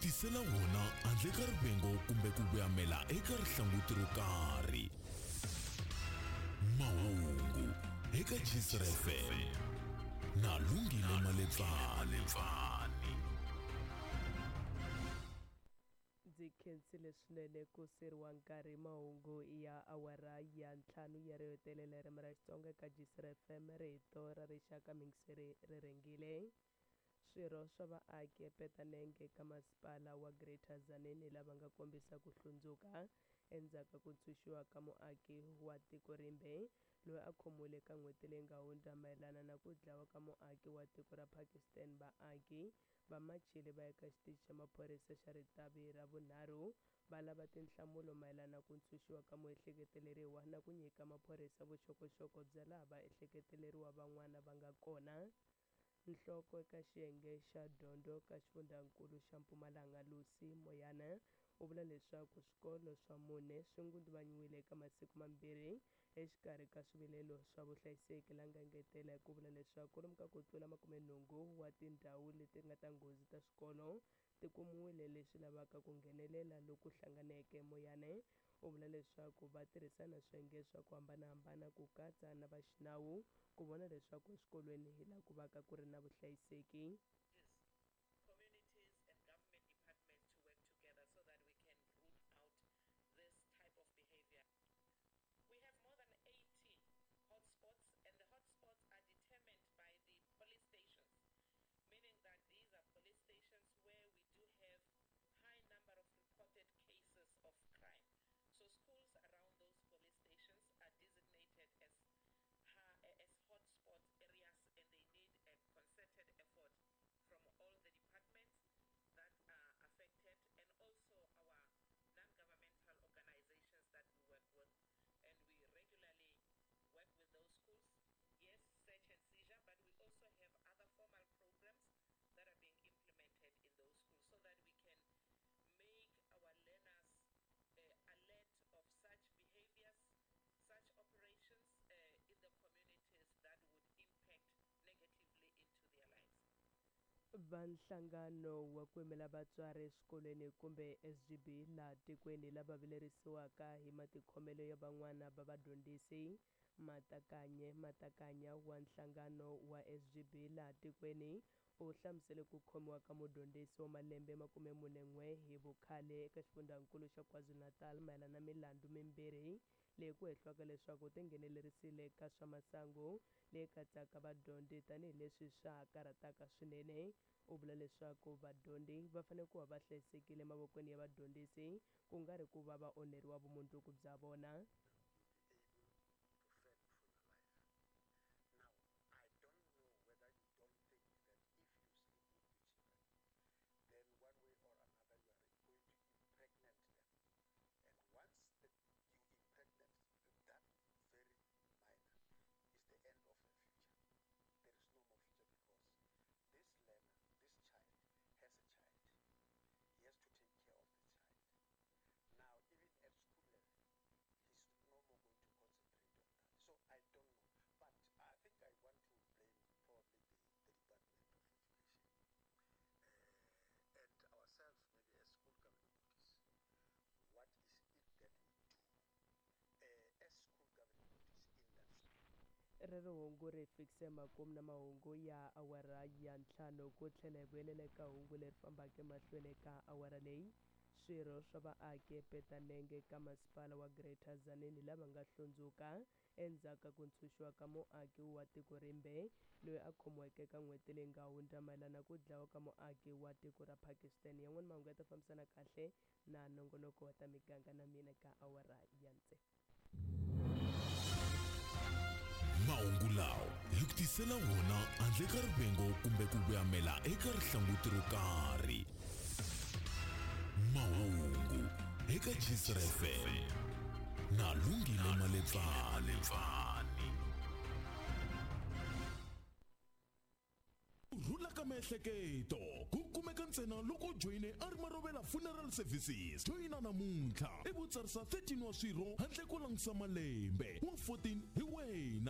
tisela wona handle ka rivengo kumbe ku voyamela eka rihlanguti ro karhi. Mahungu eka Gcr FM na Lungile Malebvani. Ndzi khensile swinene ku siriwa nkarhi mahungu ya awara ya ntlhanu ya ro hetelela hi ririmi ra Xitsonga eka Gcr FM rito ra rixaka mingiseri ri rhengile. Swirho swa vaaki ePetanenge eka masipala wa Greater Tzaneen lava nga kombisa ku hlundzuka endzhaku ka ku ntshunxiwa ka muaki wa tiko rimbe loyi a khomiwile eka n'hweti leyi nga hundza mayelana na ku dlawa ka muaki wa tiko ra Pakistan. Vaaki va machile va ya eka xitichi xa maphorisa xa Ritavi ra vunharhu va lava tinhlamulo mayelana na ku ntshunxiwa ka muehleketeleriwa na ku nyika maphorisa vuxokoxoko bya laha vaehleketeleriwa van'wana va nga kona. Nhloko eka xiyenge xa dyondzo ka xifundzankulu xa Mpumalanga Lucy Moyane u vula leswaku swikolo swa mune swi ngunduvanyiwile eka masiku mambirhi exikarhi ka swivilelo swa vuhlayiseki la nga engetela hi ku vula leswaku kwalomu ka ku tlula makumenhungu wa tindhawu leti nga ta nghozi ta swikolo ti kumiwile leswi lavaka ku nghenelela loku hlanganeke. Moyane u vula leswaku va tirhisana swiyenge swa ku hambanahambana ku katsa na va xinawu ku vona leswaku eswikolweni hi laha ku vaka ku ri na vuhlayiseki. Communities and government departments to work together so that we can root out this type of behavior. We have more than 80 hotspots, and the hotspots are determined by the police stations, meaning that these are police stations where we do have high number of reported cases of crime. So schools around those police stations are designated as hotspot areas, and they need a concerted effort from all the departments that are affected and also our non-governmental organizations that we work with. And we regularly work with those schools. Yes, search and seizure, but we also have other formal programs that are being implemented in those schools so that we can make our learners alert of such behaviors, such operations in the communities that would impact negatively into their lives. Va nhlangano wa ku yimela vatswari eswikolweni kumbe SGB laha tikweni lava vilerisiwaka hi matikhomelo ya van'wana va vadyondzisi. Matakanye Matakanya wa nhlangano wa SGB laha tikweni u hlamusele ku khomiwa ka mudyondzisi wa malembe 41 hi vukhale eka xifundzankulu xa KwaZulu-Natal mayelana na milandzu mimbirhi leyi ku hehliwaka leswaku u tinghenelerisile ka swa masangu leyi katsaka vadyondzi tanihileswi swa ha karhataka swinene. U vula leswaku vadyondzi va fanele ku va va hlayisekile emavokweni ya vadyondzisi ku nga ri ku va va onheriwa vumundzuku bya vona. Rero hungu ri fikise makumu na mahungu ya awara ya ntlhanu ku tlhela hi vuyelela eka hungu leri fambaka emahlweni eka awara leyi. Swirho swa vaaki ePetanenge ka masipala wa Greater Tzaneen lava nga hlundzuka endzhaku ka ku ntshunxiwa ka muaki wa tiko rimbe loyi a khomiweke eka n'hweti leyi nga hundza mayelana na ku dlawa ka muaki wa tiko ra Pakistan. Yan'wana mahungu ya ta fambisana kahle na nongonoko wa ta miganga na mina ka awara ya tsevu. Mahungu lawa hi ku tisela wona handle ka rivengo kumbe ku voyamela eka rihlanguti ro karhi. Mahungu eka Gcr FM na Lungile Malebvani. Ku rhula ka miehleketo ku kumeka ntsena loko u joyine a ri Marovela Funeral Services. Joyina namuntlha ivi u tsarisa 13 wa swirho handle ko langutisa malembe, wa 14 hi wena.